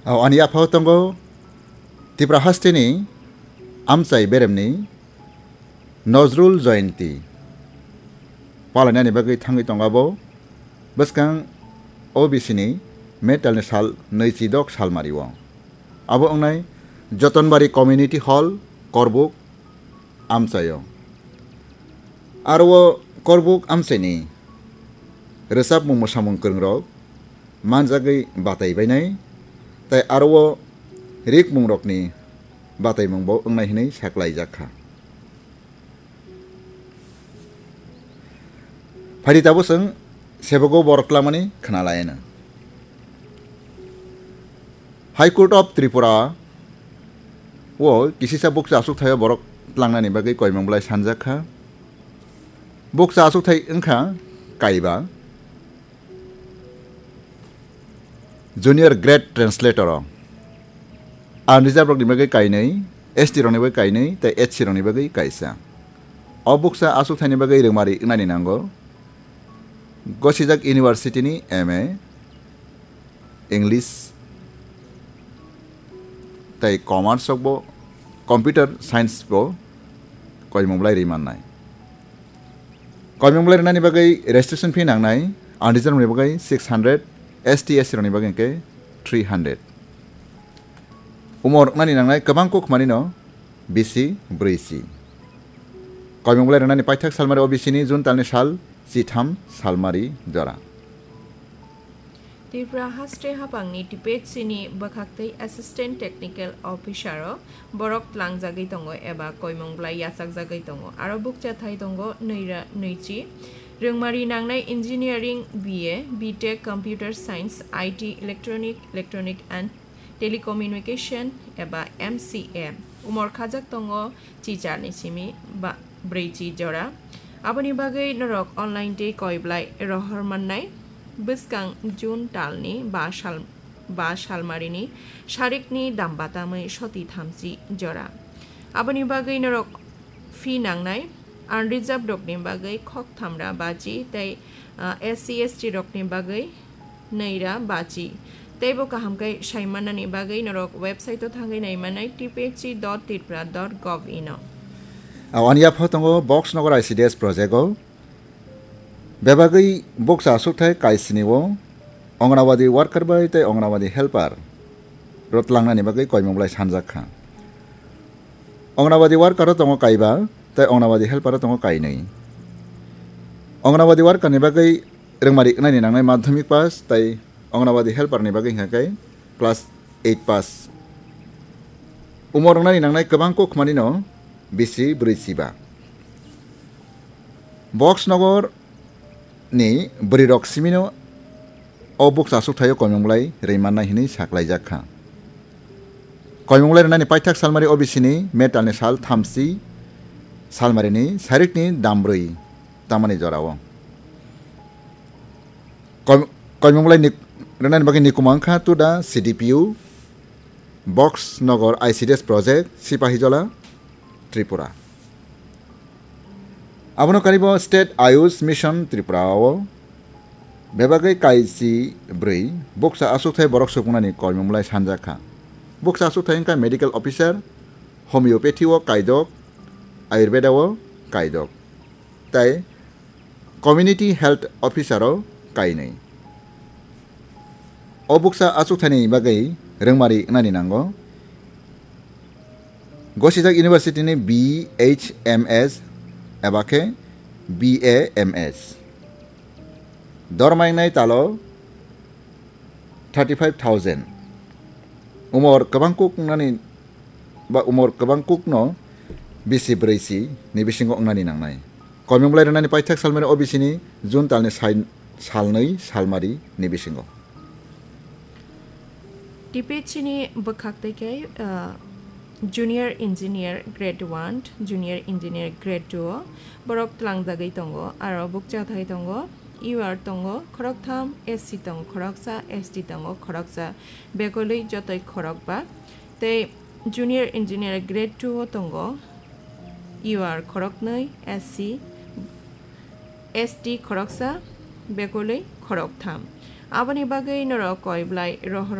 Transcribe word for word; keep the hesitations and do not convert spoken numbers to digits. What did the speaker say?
O ani yaphao tongo Tripura hasteni amchai beremni Nozrul Jayanti palainani bagwi thangwi tongo abo bwskang O B C ni May talni sal nwichidok salmario. Abo wngnai Jotonbari Community Hall, Korbuk amchaio. Aro o Korbuk amchaini rwchapmung mwsamung kwrwngrok manjagwi batai bainai, tai aro o rikmungrokni bataimungbo wngnai hwnwi saklaijak kha. Phaidi tabuk chwng sebogo borok twlangmani khna laino. High Court of Tripura o kisisa bukcha achuk thaio borok tlangnani bagwi koimung bwlai sanjak kha. Bukcha achuk thai wngkha kaiba. Junior Grade Translator o unreserved rokni bagwi kainwi, S T rokni bagwi kainwi tei H C rokni bagwi kaisa. O bukcha achuk thaini bagwi rwngmari wngnani nango. Gosijak University ni M A, English tei Commerce rokbo, Computer Science bo koimung bwlai rwi mannai. Koimung bwlai rwnani bagwi registration fee nangnai, unreserved rokni bagwi six hundred, S T, S C rokni bagwi hwnkhe three hundred. Umor wngnani nangnai kwbang kuk manino bisi brwi si. Koimung bwlai rwnani paithak salmari O B C ni June talni sal chitham salmari jora. Tripura haste hapangni T P H C ni bwkhaktwi Assistant Technical Officer o borok tlangjagwi tongo eba koimung bwlai yachakjagwi tongo. Aro bukcha thai tongo nwi ra-, nwichi. Rwngmari nangnai Engineering B A, B Tech Computer Science, I T Electronic, Electronic and Telecommunication eba M C A. Umor khajak tongo chicharni simi ba brwichi jora. Aboni bagwi norok online tei koiblai rohor mannai bwskang June talni ba sal, ba salmarini sarikni dam batamwi soti thamchi jora. Aboni bagwi norok fee nangnai, unreserved rokni bagwi khok thamra bachi tei, ah, S C S T rokni bagwi nwi ra bachi. Teibo kaham khe sai mannani bagwi norok website o thangwi nai mannai T P H C dot tripura dot gov in o. Ani yapha tongo Box Nogor I C D S project o. Bebagwi bukcha aswkthai kaisini o Anganwadi worker bai tei Anganwadi helper rwtlangnani bagwi koimung bwlai sanjak kha. Anganwadi worker o tongo kaiba tei Anganwadi helper o tongo kainwi. Anganwadi worker ni bagwi rwngmari wngnani nangnai madhyamik pass tei Anganwadi helper ni bagwi hwnkha khe class eight pass. Umor wngnani nangnai kwbang kuk manino bisi brwi chiba. Box Nogor ni bwrwi rok simino o bukcha aswk thaio koimung bwlai rwi mannai hinwi saklaijak kha. Koimung bwlai rwnani paithak salmari O B C ni metal ni sal thamsi salmari ni sarikni dam brwi tamani jorao. Koim-, koimung bwlai ni, rwnani bagwi nikuma wngkha to the C D P U, Box Nogor I C D S project, Sipahijola, Tripura. Abono karibo State Ayush Mission Tripura o bebagwi kaisi bwrwi bukcha aswkthai borok supungnani koimung bwlai sanjak kha. Bukcha aswkthai wngkha medical officer, homeopathy o kaidok, ayurveda o kaidok, tei community health officer o kainwi. O bukcha achukthani bagwi rwngmari wngnani nango. Gosijak University ni B H M S eba khe B A M S. Dorma wngnai talo thirty five thousand. Umor kwbang kuk wngnani ba umor kwbang kukno bisi brwi si ni bisingo wngnani nangnai. Koimung bwlai rwnani paithak salmari O B C ni June talni sai-, salnwi salmari ni bisingo. T P H C ni bwkhak tei khe, ah, Junior Engineer Grade one, Junior Engineer Grade two o borok tlangjagwi tongo, aro bukcha thai tongo, U R tongo khoroktham, S C tongo khoroksa, S T tongo khoroksa, bekolwi jotoi khorokba. Tei Junior Engineer Grade two o tongo, U R khoroknwi, S C, S T khoroksa, bekolwi khoroktham. Aboni bagwi norok koiblai rohor